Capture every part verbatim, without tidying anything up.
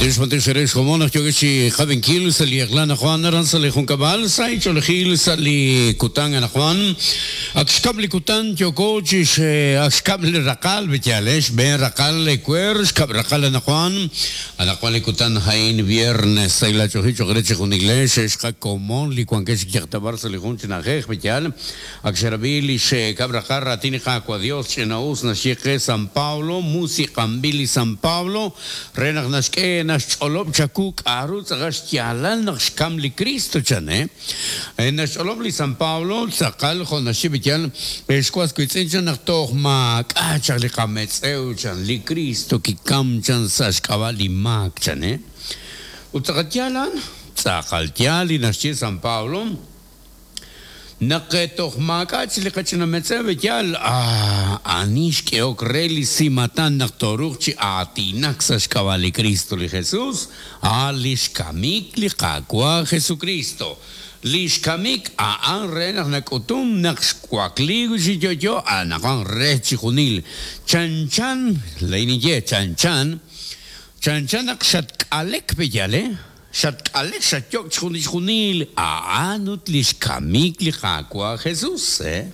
Matix matix eres como nos yogechi Javenkil sali Erlana Juan aran sali Juncabal sai Cholejil sali Kutang ana Juan Axkabli Kutan Yokochis Axkabli Rakal Betiales Ben Rakal Ecuer Xkab Rakal ana Juan Ana Juan Kutan Jain viernes sai la Chojicho Greche Junigles Xka Comón Licuanquech Yaktabar sali Junchinajej Betial Axerabili Xkab Rakal Ratini Jacua Dios Chenaus Nashique San Pablo Musicambili San Pablo Renag Nashke Nash Cholob Chakuk Arutz Agash Yalal Naxkamli Cristo Chane Nash Cholob li San Pablo Tzakal Jonashibitial Escuas Kuitzinchan Nachtoch Mak Achali Kametz Euchan li Cristo Kikamchan Sashkabali Mak Chane Utzakatyalan Tzakaltiali Nashi San Pablo Naqetoch li qachinametzev yal anish keokreli simatan naqtoruch atinak saxkabali Cristo li Jesús alishkamik li qaqwa Jesucristo lishkamik aan re naq nakutum naqxkuakli yoyo anaqan re chijunil chan chan leiniye chan chan chan chan naqxatkalek beyale Xatkalek xatyok chjunil aanut lixkamik li qaqwa Jesús eh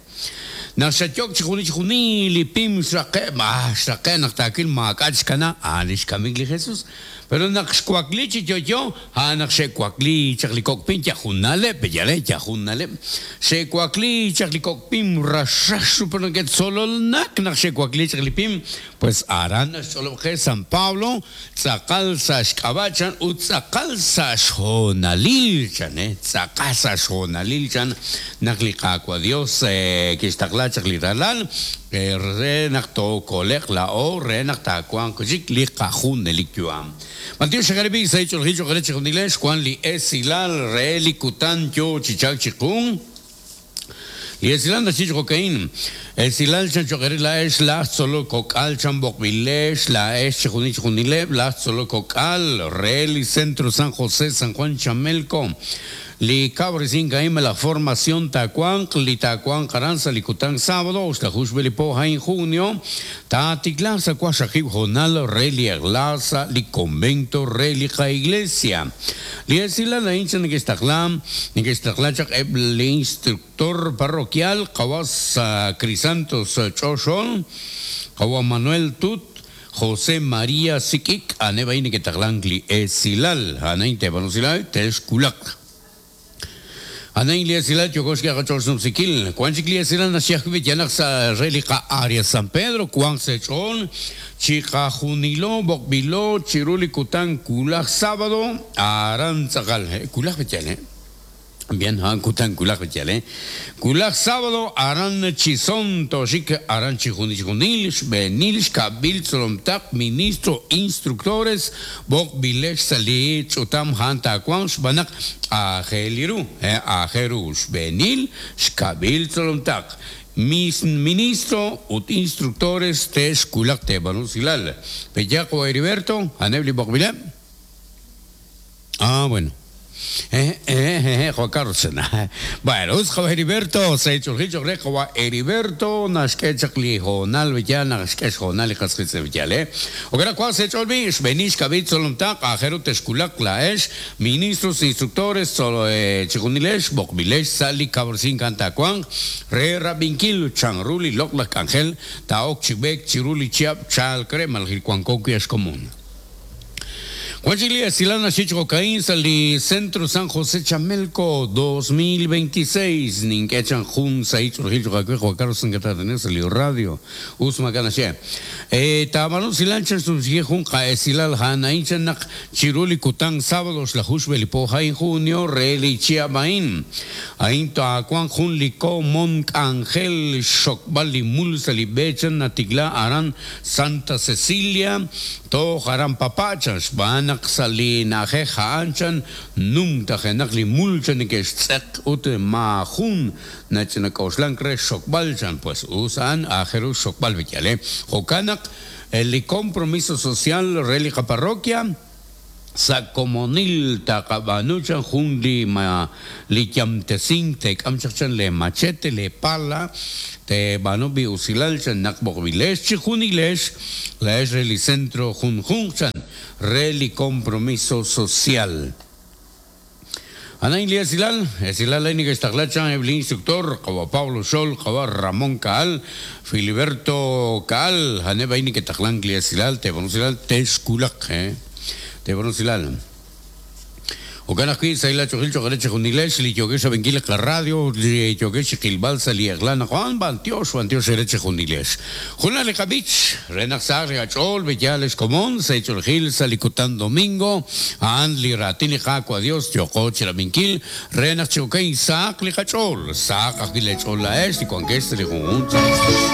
Naq xatyok chjunil pim xraqe ma xraqe naq takil maakach kana a lixkamik li Jesús pero naq xkuakli chiyoyo a naq xekuakli chaqlikokpin yajunale peyale yajunale xekuakli chaqlikokpin raxaxu pero que sololnak naq xekuakli chaqlipim pues aran xolobje San Pablo tzakal saxkabachan ut tzakal saxjonalil chan eh tzakal saxjonalil chan naq liqaqwa Dios eh kixtaqla chaqlitalal re naq tokolek la o re naq takuan kuchik liqajun elikyuam Mateo Shagaribi se hecho el hicho greche con inglés Juan li esilal re likutan yo chichak chikun y esilal na chicho cocaín esilal chancho la es la solo cocal chambok milesh la es chijuni chijunile la solo cocal re centro San José San Juan Chamelco li cabrecin caime la formación tacuan li tacuan caranza licután sábado oxtajuxbelipo en junio taticlasa cuaxajib jonal reli aglaza li convento relica iglesia li esila la hincha nixtaclam nixtaclachak el instructor parroquial Cawas Crisantos Choxol Cawa Manuel Tut José María Sikik anebaini que taclancli esilal anainte banusilal tesculak Anain liasilal yokoshki agachorsun sikil Juan chikliasilal nashiakvit yanaksa relica área San Pedro Juan sechon Chikajunilo Bokbilo Chiruli Kutan Kulak sábado Arantzakal Kulak betial eh Bien, han kutan kulak betial eh Kulak sábado aran chison toshik aran chijunil benil kabil tzolomtak ministro instructores bokbilesh sali chutam hanta kwan shbanak ajeliru eh ajerush benil shkabil tzolomtak mis ministro ut instructores tesh kulak tebanusilal Pellaco Heriberto Anebli Bokbile. Ah, bueno. Eh, eh, eh, Juan Carlos. Bueno, us Heriberto, se hecho el hicho Heriberto, Nashkechakli, Jonal, Villana, Nashkech, Jonal, y Casquitze, Villale. O que cual se hecho el bish, Benish, Kabit, Solomtak, Ajero, Teskulak, Laesh, ministros, instructores, solo Chikunilesh, Bokbilesh, Sali, Caborcín, Cantacuán, Re Rabinkil, Chanruli, Loklak, Ángel, Taok, Chibek, Chiruli, Chiap, Chal, Crema, el Cuancoqui es común. Juan Silana Chicho Cocaín, Sali Centro San José Chamelco dos mil veintiséis, Ninquechan Jun Saich Rojillo Juan Carlos Sangatata, Salió Radio, Usma Ganache. Eh, Tamarón Silanchan Subsige Junca, Esilal Hanainchanak, Chiruli Kután, sábados, la Jushbelipo, en junio, Reli Chiabain, Ainto Acuan Junlico, Monk Ángel, Shokbali Mulsali Bechan, Natigla, Aran, Santa Cecilia, To Haran Papachas, Banak Salina Jeja Anchan, Num Tajenakli Mulchan, que es Ut Mahun, Nachenakoshlankre, Shokbalchan, pues usan a Jeru Shokbal Vichale, Jokanak, el compromiso social, Relica Parroquia, Sa' komonil taqab'aanu chan jun li ma li yamtesink teek'am chaq chan le machete le pala teeb'aanu bi usilal chan naq b'oqb'ilex chi junilex laex re li centro junjunq chan re li compromiso social. Anain li esilal, esilal ay neke'xtaqla chan eb' li instructor, qawa Pablo Xol, qawa Ramón Kaal, Filiberto Kaal, a'aneb' ay neke'taqlank li esilal, teeb'aanu usilal, texkulaq, eh. Teeb'aanu usilal. Jo'kan ajwi' sahil ach'oolejil cho'q re chijunilex li yookex rab'inkil li qaradio, li yookex chiqilb'al sa' li eq'la naq b'antiox, b'antiox re chijunilex. Junaq li qab'ich, re naq sahaq li qach'ool, b'eyal ex komon, sa' ch'oolejil sa' li kutan domingo, a'an li raatin li Qaawa' Dios yooqo chirab'inkil, re naq chi jo'kan sahaq li qach'ool, sahaq ajwi' le ch'ool laa'ex li wankex sa' li junjunq chi